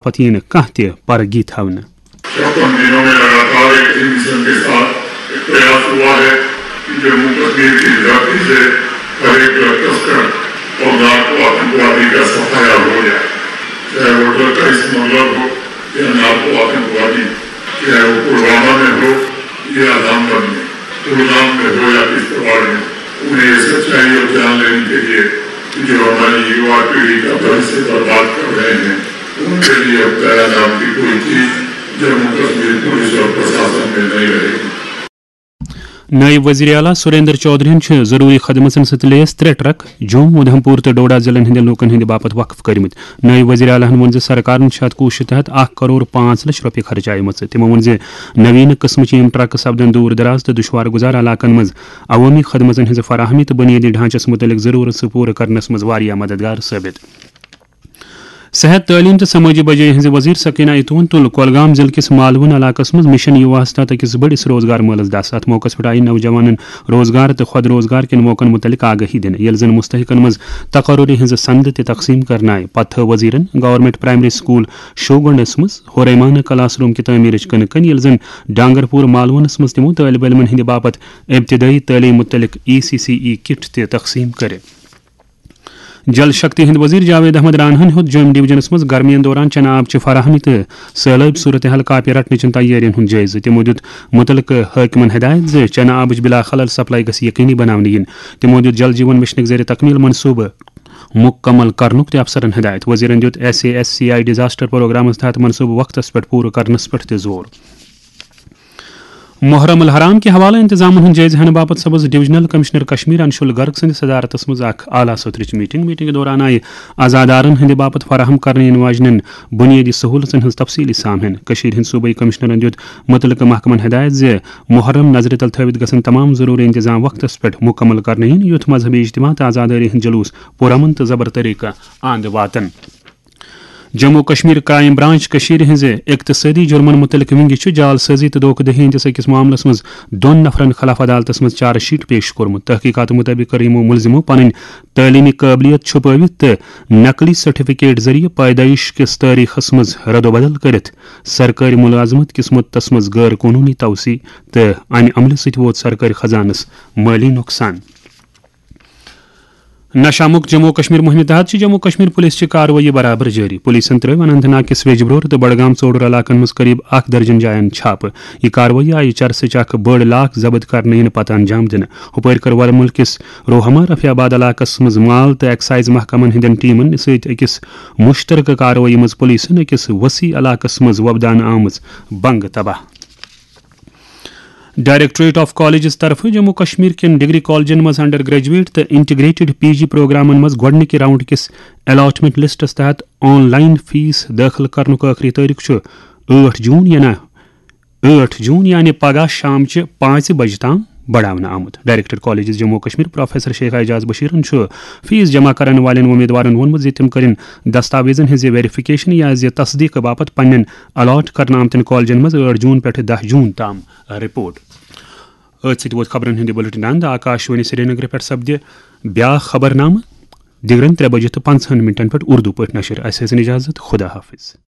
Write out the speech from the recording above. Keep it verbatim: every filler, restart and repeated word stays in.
پتہٕ یِیہِ نہٕ کانٛہہ تہِ پرگی تھاونہٕ۔ چھپن دنوں میں لگاتار ایک ہی مشن کے ساتھ ایک پریاس ہوا ہے کہ جموں کشمیر کی دھرتی سے ہر ایک ڈرگ تسکر اور نارکو آتنکوادی کا سفایا ہو جائے، چاہے وہ ڈرگ کا اسمگلر ہو یا نارکو آتنکوادی، چاہے وہ پلوامہ میں ہو یا رامبن میں، کلگام میں ہو یا کشتواڑ میں، انہیں یہ سچائی اور جان لینے کے لیے کہ جو ہماری یووا پیڑھی کا بھوشیہ برباد کر رہے ہیں، ان کے لیے اب دیا نام کی کوئی چیز جموں کشمیر پولیس اور پرشاسن میں نہیں رہے گی۔ نائب وزیر اعلیٰ سریندر چودھرین چھِ ضروری خدمتن سۭتۍ لیس ترٛےٚ ٹرک جوم، اودھمپور تہٕ ڈوڈا ضلعن ہٕنٛدٮ۪ن لوٗکن ہٕنٛدِ باپتھ وقف کٔرمٕتۍ۔ نٲیِب وزیر اعلیٰ ہن ووٚن زِ سرکارن چھِ اتھ کوٗششہِ تحت اکھ کرور پانٛژھ لچھ رۄپیہِ خرچایمژٕ۔ تِمو ووٚن زِ نویٖنہٕ قٕسمٕچہِ یِم ٹرکہٕ سپدن دوٗر دراز تہٕ دُشوار گُزار علاقن منٛز عوٲمی خدمژن ہٕنٛزِ فراہمی تہٕ بُنیٲدی ڈھانچس مُتعلق ضروٗرژٕ پوٗرٕ کرنس منٛز واریاہ مددگار ثٲبت۔ صحت، تعلیٖم تہٕ سمٲجی بجٲیی ہٕنٛزِ وزیر سکینہ اتون تُل کۄلگام ضلعہٕ کِس مالوُن علاقس منٛز مشن یوواہس تحت أکِس بٔڑِس روزگار مٲلس دس۔ اتھ موقعس پٮ۪ٹھ آیہِ نوجوانن روزگار تہٕ خۄد روزگار کٮ۪ن موقعن مُتعلق آگٲہی دِنہٕ، ییٚلہِ زن مستحقن منٛز تقرری ہٕنٛزٕ سندٕ تہِ تقسیٖم کرنہٕ آیہِ۔ پتہٕ تھٲو وزیرن گورنمنٹ پرائمری سکول شوگنڈس منٛز ہوریمانہ کلاس روم کہِ تعمیرٕچ کٕنہٕ کٔنۍ، ییٚلہِ زن ڈانگرپور مالوُنس منٛز تِمو طٲلب علمن ہٕنٛدِ باپتھ ابتدٲیی تعلیٖم مُتعلق ای سی سی ای کٹ تہِ تقسیٖم کٔرِ۔ جل شکتی ہٕنٛدۍ وزیر جاوید احمد راناہن ہیوٚت جوٚمۍ ڈویژنس منٛز گرمی دوران چنہٕ آبچہِ فراہمی تہٕ سٲلٲبۍ صورتحال کاپہِ رٹنٕچن تیٲرین ہُنٛد جٲیزٕ۔ تِمو دِیُت مُتعلقہٕ حٲکمن ہدایت زِ چنہٕ آبٕچ بلا خلل سپلائی گژھِ یقینی بناونہٕ یِنۍ۔ تِمو دِیُت جل جیون مشنٕکۍ ذٔریعہٕ تکمیل منصوبہٕ مُکمل کرنُک تہِ افسرن ہدایت۔ وزیرن دِیُت S A S C I disaster programmes تحت منصوبہٕ وقتس پٮ۪ٹھ پوٗرٕ کرنس پٮ۪ٹھ تہِ زور۔ محرم الحرام کہِ حوالہٕ انتظامن ہُنٛد جٲیزٕ ہینہٕ باپتھ سپٕز ڈویژنل کمشنر کشمیر انشول گرگ سٕنٛدِ صدارتس منٛز اکھ اعلیٰ سطرٕچ میٹنگ۔ میٹنگہِ دوران آیہِ عزادارن ہٕنٛدِ باپتھ فراہم کرنہٕ یِنہٕ واجنٮ۪ن بُنیٲدی سہوٗلژن ہٕنٛز تفصیٖلی سام ہینہٕ۔ کٔشیٖرِ ہٕنٛدۍ صوٗبٲیی کمشنرن دِیُت مُتعلقہٕ محکمن ہدایت زِ محرم نظرِ تل تھٲوِتھ گژھن تمام ضروٗری انتظام وقتس پٮ۪ٹھ مُکمل کرنہٕ یِنۍ، یُتھ مذہبی اجتماع تہٕ عزادٲری ہٕنٛدۍ جلوٗس پُرامن تہٕ زبر طریقہٕ آند واتن۔ جموں کشمیر کرائم برانچ کٔشیٖرِ ہٕنٛزِ اقتصٲدی جُرمن مُتعلق ونگہِ چھُ جعل سٲزی تہٕ دھوکہٕ دہی ہٕنٛدِس أکِس معاملس منٛز دۄن نفرن خلاف عدالتس منٛز چارج شیٹ پیش کوٚرمُت۔ تحقیقاتہٕ مُطٲبِق کٔر یِمو مُلزِمو پنٕنۍ تعلیٖمی قٲبلیت چھُپٲوِتھ تہٕ نقلی سرٹیفکیٹ ذٔریعہٕ پیدٲیِش کِس تٲریخس منٛز ردوبدل کٔرِتھ سرکٲرۍ ملازمت کِس مُدتس منٛز غٲر قونوٗنی توسیع تہٕ امہِ عملہِ سۭتۍ ووت سرکٲرۍ خزانس مٲلی نۄقصان۔ نشہ مکت جموں و کشمیر مہمہِ تحت چھِ جموں و کشمیر پولیس چہِ کاروٲیی برابر جٲری۔ پولیسن ترٲوۍ اننت ناگ کِس ویجبرور تہٕ بڈگام ژوڈور علاقن منٛز قریب اکھ درجن جاین چھاپہٕ۔ یہِ کاروٲیی آیہِ چرسٕچ اکھ بٔڑ لاکھ ضبط کرنہٕ یِنہٕ پتہٕ انجام دِنہٕ۔ ہُپٲرۍ کٔر ورمُل کِس روہما رفیع آباد علاقس منٛز مال تہٕ ایکسائز محکمن ہٕنٛدٮ۪ن ٹیمن سۭتۍ أکِس مشترکہٕ کاروٲیی منٛز پولیسن أکِس وسیع علاقس منٛز وۄپداونہٕ آمٕژ بنگہٕ تباہ۔ ڈائریکٹوریٹ آف کالجز طرفہٕ جموں کشمیر کٮ۪ن ڈگری کالجن منٛز انڈر گریجویٹ تہٕ انٹیگریٹڈ پی جی پروگرامن منٛز گۄڈٕنِکہِ راؤنڈ کِس الاٹمنٹ لسٹس تحت آن لائن فیس دٲخل کرنُک ٲخری تٲریخ چھُ ٲٹھ جون، یعنی ٲٹھ جون، یعنی پگاہ شام چہِ پانٛژِ بجہِ تام بڑاونہٕ آمُت۔ ڈائریکٹر کالجز جموں و کشمیر پروفیسر شیخ اعجاز بشیرن چھُ فیس جمع کرن والٮ۪ن امیدوارن ووٚنمُت زِ تِم کرن دستاویزن ہٕنٛزِ ویریفکیشن یا زِ تصدیق باپتھ پننٮ۪ن الاٹ کرنہٕ آمتٮ۪ن کالجن منٛز ٲٹھ جون پٮ۪ٹھ دَہ جون تام رپورٹ۔ أتھۍ سۭتۍ ووت خبرن ہُنٛد یہِ بُلٹن اند۔ آکاش وانی سرینگر پٮ۪ٹھ سپدِ بیاکھ خبرنامہٕ دِگرن ترٛےٚ بجہِ تہٕ پنٛژاہن منٹن پٮ۪ٹھ اردو پٲٹھۍ نشر۔ اسہِ ٲسِن اجازت، خدا حافظ۔